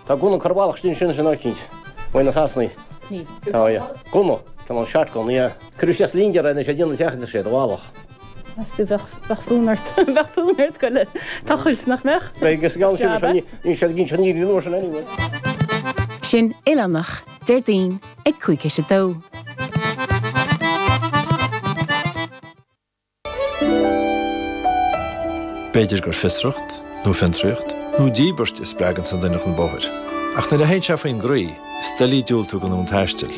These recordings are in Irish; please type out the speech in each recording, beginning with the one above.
Tá gunna curtha i bhfalach ansin sin eicínt. Uaidh na Sasanaigh. Ní. Tá, yeah. Gunna. Cineál shotgun, yeah. Cuireadh isteach sa lingear é anois é déanamh teach sé do bhealach. Meas tú bheadh bheadh fonn ort bheadh fonn ort goil ag tochailt nach mbeadh? Beidh agus gabhann sin Job, eh? ní sé gin sin ní sin anyway. Sin Oileánach, Déardaoin ag 1:55. B'fhéidir gur fiosracht, nó fiontraíocht, nó díbirt a spreaganns an duine chun bóthair. Ach nuair a théann sé faoin gcroí, is doiligh diúltú don fhonn taistil.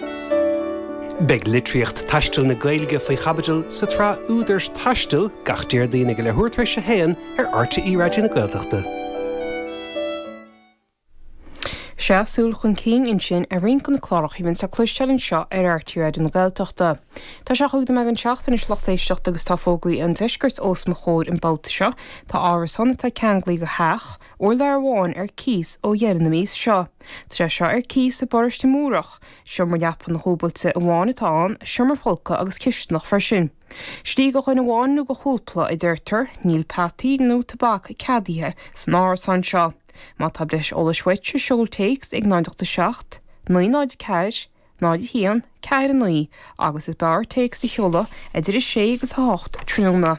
Beidh litríocht taistil na Gaeilge faoi chaibidil sa tsraith Údair Taistil gach Déardaoin ag a leathuair tar éis a haon ar RTÉ Raidió na Gaeltachta. Sea, súil chun cinn ansin ar roinnt de na cláracha a bhíonns le cloisteáil anseo ar RTÉ Raidió na Gaeltachta. Tá sé chúig nóiméad don seacht anois lucht éisteachta agus tá fógraí an deiscirt os mo chomhair an babhta seo. Tá árasán atá ceanglaithe go theach, urlár amháin ar cíos ó dheireadh na míosa seo. Tá sé seo ar cíos i bparóiste Múrach. Seomra leapan dhúbailte amháin atá ann, seomra folctha agus cisteanach freisin. Slí do dhuine amháin nó do chúpla, a deirtear, níl peataí nó tobac ceadaithe san árasán seo. Má tá breis eolais uait, seol téacs ag 0 8 7 9 0 4 0 1 4 9 agus is b'fhearr téacs a sheoladh idir 6 agus 8 tráthnóna.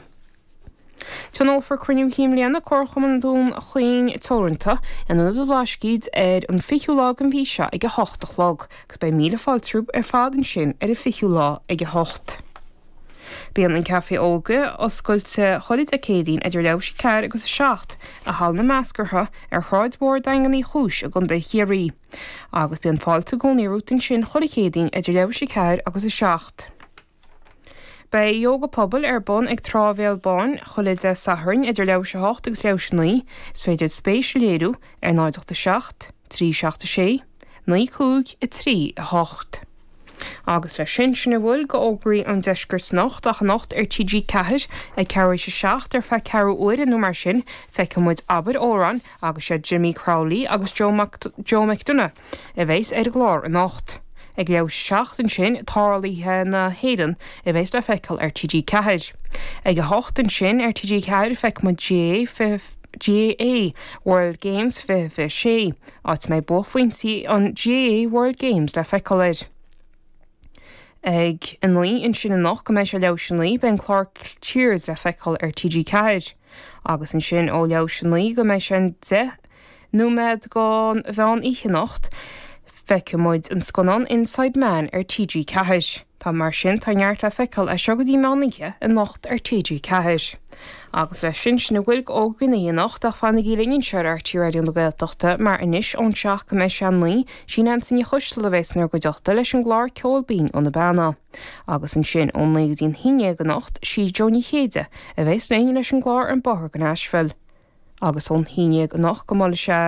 Tionólfar Cruinniú Chinn Bliana Comharchumann Dhún Chaoin Teoranta in Ionad an Bhlascaoid ar an 20ú lá den mhí seo ag 8 a chlog agus beidh míle fáilte romhaibh ar fad ansin ar an 20ú lá ag 8. Bíonn an Café Óige oscailte chuile Dé Céadaoin idir leathuair théis a 4 agus 7 i Halla na Meascartha ar Shráid Mhór Daingean Uí Chúis i gContae Chiarraí. Agus bíonn fáilte i gcónaí romhat ansin chuile Chéadaoin idir leathuair théis a 4 agus 7. Beidh Ióga Pobail ar bun ag Trá Bhéal Báin chuile Dé Sathairn idir leathuair théis a 8 agus leathuair théis a 9. Is féidir spéis a léiriú ar 0 8 7 3 7 6 9 5 3 8. Agus leis sin, sin a bhfuil de fhógraí an deiscirt anocht, ach anocht ar TG4 ag ceathrú théis a 7 ar feadh ceathrú uaire nó mar sin, feicfidh muid Abair Amhrán agus sé Jimmy Crowley agus Joe Joe McDonagh a bheas ar an gclár anocht. Ag leathuair théis a 7 ansin, Tarluithe na hÉireann a bheas le feiceáil ar TG4. Ag a hocht ansin ar TG4 feicfidh muid GAA GAA World Games 2026. áit a mbeidh buaicphointí an GAA World Games le feiceáil air. Ag a 9 ansin anocht go mbeidh sé leathuair théis a 9 beidh an clár Cheers le feiceáil ar TG4. Agus ansin ó leathuair théis a 9 go mbeidh sé an 10 nóiméad don mheán oíche anocht feicfidh muid an scannán Inside Man ar TG4. Tá mar sin, tá neart le feiceáil as seo go dtí meán oíche anocht ar TG4. Agus leis sin, sin a bhfuil d'fhógraí na hoíche anocht ach fanaigí linn anseo ar RTÉ Raidió na Gaeltachta mar anois ón 7 go mbeidh sé 9, sí Neansaí Ní Choisteala a bheas inár gcuideachta leis an gclár Ceol Binn ó na Beanna. Agus ansin ón 9 go dtí an 11 anocht, sí Jó Ní Chéide a bheas linn leis an gclár An Bóthar go Nashville. agus ón haon dhéag anocht go mbuailfidh sé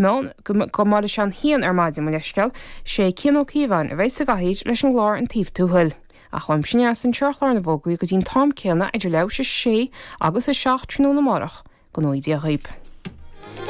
meán, go mbuailfidh sé an haon ar maidin, mo leithscéal, sé Cian Ó Cíobháin a bheidh sa gcathaoir leis an gclár An Taobh Tuathail. Ach uaimse aneas anseo ar chlár na bhfógraí go dtí'n t-am céanna idir leathuair théis a sé agus a 7 tráthnóna amárach, go ngnóthaí Dia dhaoib.